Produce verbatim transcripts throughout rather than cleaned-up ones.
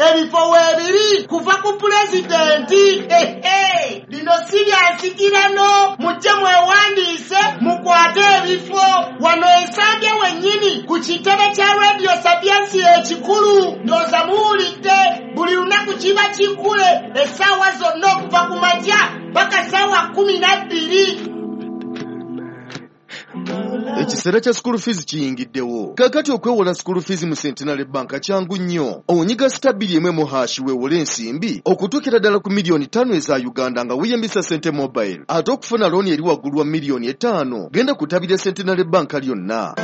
Ebifo weebiri kuva ku pulezidenti. Ehe, lino si lya nsikirano, mujje mwewandiise mukwate ebifo wano Ensambya wennyini ku kitebe kya Radio Sapientia ekikulu. Ndowooza muwulidde, buli lunaku kiba kikule essaawa zonna okuva ku makya paka ssaawa kkumi na bbiri. Ekiseera kya school fees kiyingiddewo. Kaakati okwewola school fees mu Centenary Bank kyangu nnyo. Onyiga star bbiri emu emu hash weewole ensimbi okutuukira ddala ku miliyoni ttaano eza Uganda nga weeyambisa Sente Mobile. Ate okufuna looni eri waggulu wa miliyoni etaano, genda ku ttabi lya Centenary Bank lyonna.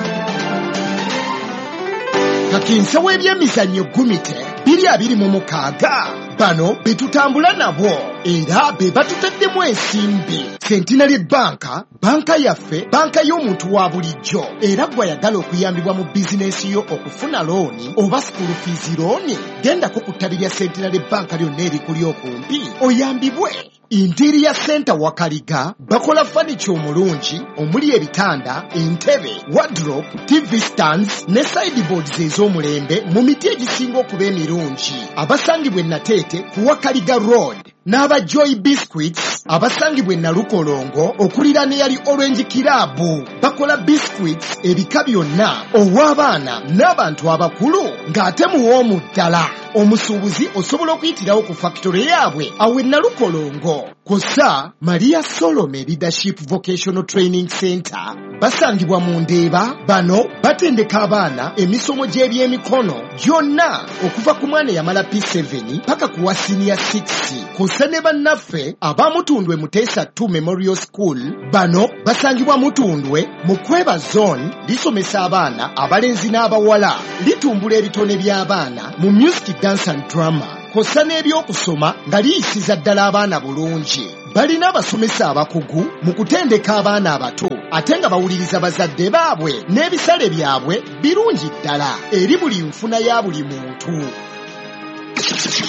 Kakensa w'ebyemizannyo Gumite biri abiri mu mukaaga, bano be tutambula nabo era be batutaddemu ensimbi. Centenary Bank, banka yaffe, banka y'omuntu wa bulijjo, era gw'ayagala okuyambibwa mu bizinensi yo okufuna looni oba school fees looni, gendako ku ttabi lya Centenary Bank lyonna erikuli okumpi oyambibwe. Interior Center Wakaliga bakola furniture omulungi omuli ebitanda, entebe, wardrobe, T V stands ne sideboards ez'omulembe mu miti egisinga okuba emirungi. Abasangibwa e Nateete ku Wakaliga Road, n'aba Joy Biscuits abasangibwa e Nalukolongo okuliraana eyali Orange Club, bakola biscuits ebika byonna ow'abaana n'abantu abakulu ng'ate muwoomu ddala. Omusuubuzi osobola okuyitirawo ku factory yaabwe awo e Nalukolongo. Kw'ossa Maria Solome Leadership Vocational Training Center basangibwa mu Ndeeba. Bano batendeka abaana emisomo gy'ebyemikono gyonna okuva ku mwana eyamala P seven paka ku wa senior six. Kw'ossa ne bannaffe abamutundwe Muteesa two Memorial School, bano basangibwa Mutundwe mu Kweba Zone, lisomesa abaana abalenzi n'abawala, litumbula ebitone by'abaana mu music, dance and drama, kw'ossa n'ebyokusoma nga liyisiza ddala abaana bulungi. Balina abasomesa abakugu mu kutendeka abaana abato ate nga bawuliriza bazadde baabwe, n'ebisale byabwe birungi ddala eri buli nfuna ya buli muntu.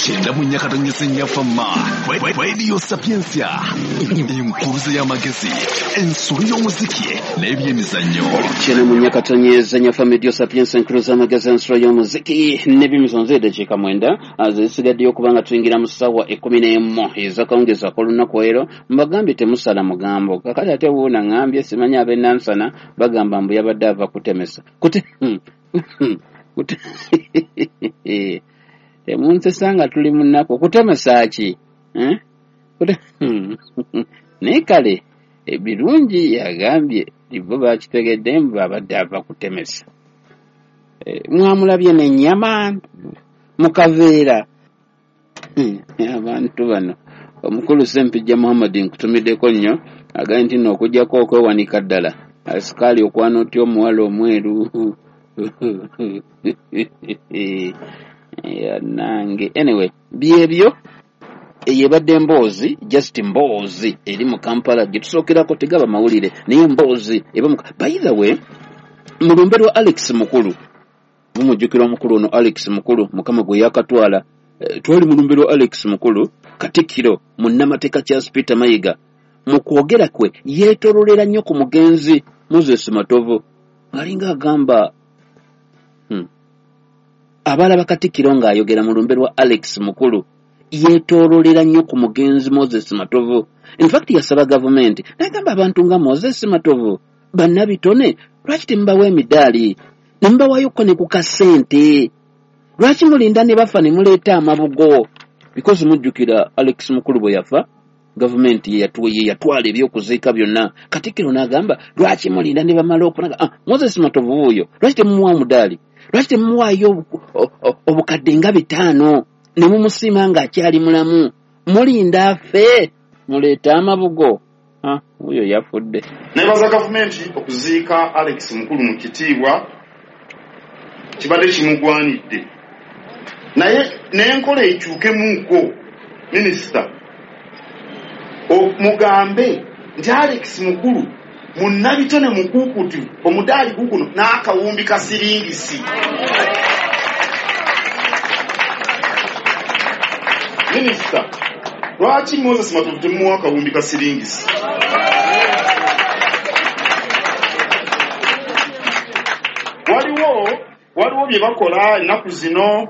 Kyenda mu nyakatonyesa ennyafama Radio Sapientia, enkuluze y'amagezi, ensolo y'omuziki n'ebyemizannyo. Kyenda mu nyakatonyeza nyafa Radio Sapientia, enkuluze y'amagezi, ensolo y'omuziki n'ebyemizannyo. Eddakiika mwenda zisigaddeyo okuba nga tuyingira mu ssaawa ekkumi n'emu ez'akawungeezi ak'olunaku ero. Mbagambye temusala mugambo. Kakati ate wuuna ŋŋambye simanyi ab'e Nansana bagamba mbu yabadde ava kutemesa kute kute temunsesa nga tuli mu nnaku. Okutemesa ki, eh? Naye kale ebirungi yagambye bo bakitegedde mbu abadde ava kutemesa. Eh, mwamulabye n'ennyama mu kaveera. Abantu bano, omukulu Sempijja Muhammad nkutumiddeko nnyo, agambye nti nno okugjako okwewanika ddala asikaali okwana otya omuwala omweru yanange. Anyway, byebyo, eyo ebadde emboozi, just mboozi eri mu Kampala gye tusookerako. Tegaba mawulire naye emboozi eba mu. By the way, mu lumbe lwa Alex Mukulu, mumujjukira omukulu ono Alex Mukulu, Mukama gwe yakatwala. eh, twali mu lumbe lwa Alex Mukulu. Katikkiro munnamateeka Charles Peter Mayiga mu kwogera kwe yeetololera nnyo ku mugenzi Moses Matovu, ng'alinga agamba hmm. Abalaba katikkiro ng'ayogera mu lumbe lwa Alex Mukulu yeetoololera nnyo ku mugenzi Moses Matovu. Infact yasaba gavumenti n'agamba abantu nga Moses Matovu bannabitone, lwaki temubawa emidaali ne mubawayokko ne ku kasente? Lwaki mulinda ne bafa ne muleeta amabugo? Because mujjukira Alex Mukulu bwe yafa, gavumenti ye yatwala ebyokuziika byonna. Katikkiro n'agamba, lwaki mulinda ne bamala okunaga? Ah, Moses Matovu wuuyo, lwaki temumuwa omudaali? Lwaki temumuwaayo obukadde nga bitaano ne mumusiima ng'akyali mulamu? Mulinda afe muleete amabugo? Wuuyo yafudde. Nebaza gavumenti okuziika Alex Mukulu mu kitiibwa kibadde kimugwanidde, naye n'enkola ekyukemuuko. Minisita, mugambe nti Alex Mukulu munnabitone mukuukutu, omudaali guguno n'akawumbi ka siringisi. Minisita, lwaki Moses Matovu temuwa akawumbi ka siringisi? Waliwo waliwo bye bakola ennaku zino.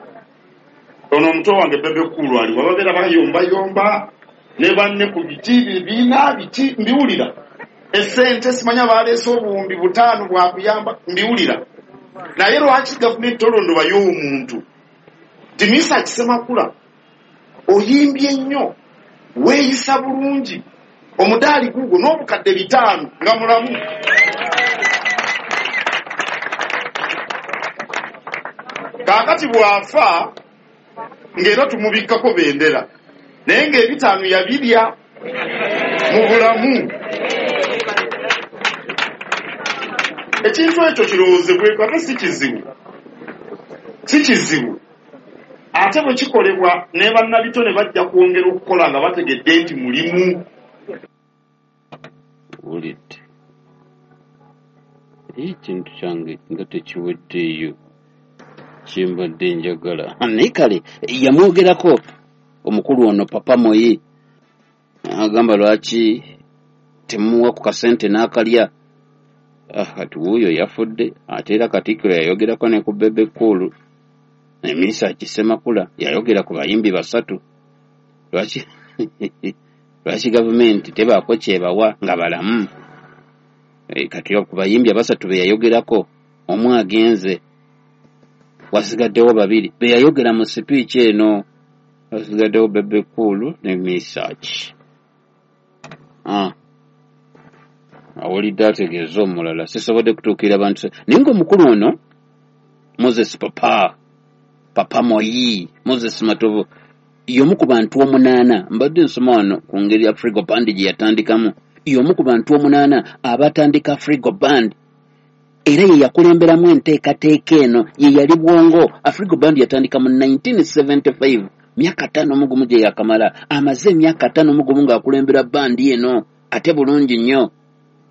Ono omuto wange Bebe Cool aliwa, babeera bayombayomba ne banne ku biti bibiina biki, mbiwulira. Essente simanya baleese obuwumbi butaano bwakuyamba, mbiwulira. Naye lwaki gavumenti tolondobayo omuntu? Timisa Kisemakula, oyimbye nnyo, weeyisa bulungi, omudaali gugwo n'obukadde bitaano nga mulamu. Kaakati bw'afa ng'era tumubikkako bendera, naye ng'ebitaano yabirya mu bulamu. Ekintu ekyo kirowoozebweko, ate si kizibu, si kizibu. Ate bwe kikolebwa ne bannabitone bajja kwongera okukola nga bategedde nti mulimu. Wulidde ekintu kyange nga tekiweddeeyo kyembadde njagala. Naye kale yamwogerako omukulu ono Papa Moyi, agamba lwaki temuwa ku kasente n'akalya. Kati wuuyo yafudde, ate era Katikkiro yayogerako ne ku Bebe Cool, Emisa Kisemakula yayogera ku bayimbi basatu. Lwaki lwaki gavumenti tebaako kyebawa nga balamu? Kati ku bayimbi abasatu be yayogerako, omu agenze, wasigaddewo babiri be yayogera mu sipiiki eno, wasigaddewo Bebe Cool ne Misach. Ah, awulidde ategeeza omulala, sisobodde kutuukirira bantu. Naye ng'omukulu ono Moses Papa Papa Moyi, Moses Matovu, y'omu ku bantu omunaana. Mbadde nsoma wano ku ngeri Afrigo Band gye yatandikamu. Y'omu ku bantu omunaana abatandika Afrigo Band, era ye yakulemberamu enteekateeka eno, ye yali bwongo. Afrigo Band yatandika mu nineteen seventy-five, myaka ttaano mu gumu gye yakamala. Amaze emyaka ttaano mu gumu ng'akulembera bandi eno, ate bulungi nnyo.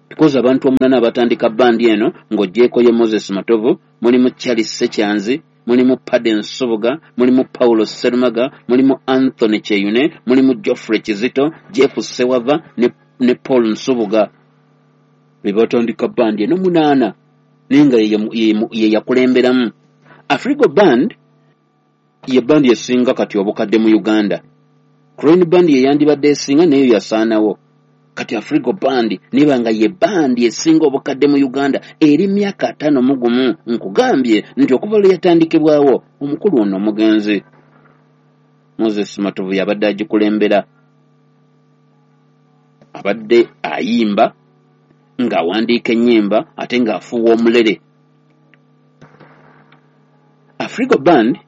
Because abantu omunaana abatandika bandi eno, ng'oggyeeko ye Moses Matovu, mulimu Charles Sekyanzi, mulimu Paden Nsubuga, mulimu Paulo Serumaga, mulimu Anthony Kyeyune, mulimu Geoffrey Kizito, Jeff Sewava ne, ne Paul Nsubuga. Be batandika bandi eno munaana, naye nga ye yakulemberamu. Afrigo Band ye bandi esinga kati obukadde mu Uganda. Crane Band ye yandibadde esinga, nayo yasaanawo. Kati Afrigo Band neba nga ye bandi esinga obukadde mu Uganda eri myaka ataano mu gumu. Nkugambye nti okuva lwe yatandikibwawo omukulu ono omugenzi Moses Matovu yabadde agikulembera, abadde ayimba ng'awandiika ennyimba ate ng'afuuwa omulere. Afrigo Band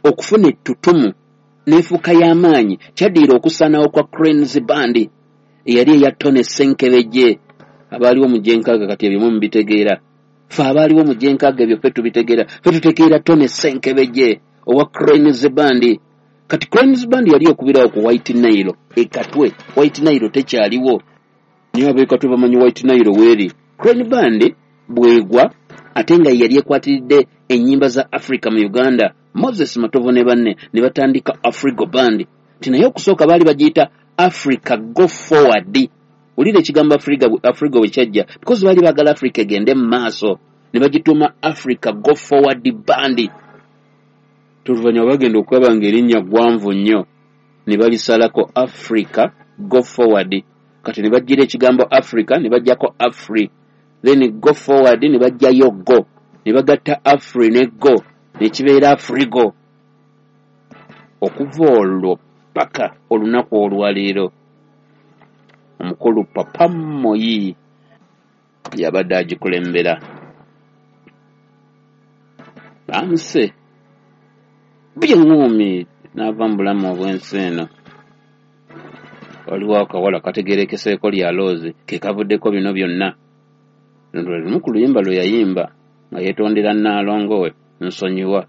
okufuna ettutumu n'enfuuka y'amaanyi kyaddirira okusaanawo kwa Cranes Band eyali eya Tony Ssenkebejje. Abaaliwo mu gyenkaaga kati ebyo mubitegeera, ffe abaaliwo mu gyenkaaga ebyo ffe tubitegeera, ffe tutegeera Tony Ssenkebejje owa Cranes Band. Kati Cranes Band yali ekubirawo ku White Nile e Katwe. White Nile tekyaliwo, naye ab'e Katwe bamanyi White Nile weeri. Crane Band bwegwa, ate nga yali ekwatiridde ennyimba za Africa mu Uganda, Moses Matovu ne banne ne batandika Afrigo Band. Nti naye okusooka baali bagiyita Africa Go Forward. Wulira ekigambo Afriga, Afrigo bwe kyajja, because baali baagala Africa egende mu maaso, ne bagituuma Africa Go Forward Band. Oluvannyuma bagenda okulaba ng'erinnya ggwanvu nnyo, ne balisalako Africa Go Forward. Kati ne baggira ekigambo Africa ne baggyako Afri, then Go Forward ne baggyayo Go, ne bagatta Afri ne Go, ne kibeera Afrigo. Okuva olwo paka olunaku olwaleero omukulu Papa Moyi yabadde agikulembera. Bamuse by'eŋŋumi n'ava mu bulamu obw'ensi eno. Waliwo akawala kategeerekeseeko lya Loozi ke kavuddeko bino byonna. Luno lwe lumu ku luyimba lwe yayimba nga yeetondera Nnaalongo we Nsonyiwa.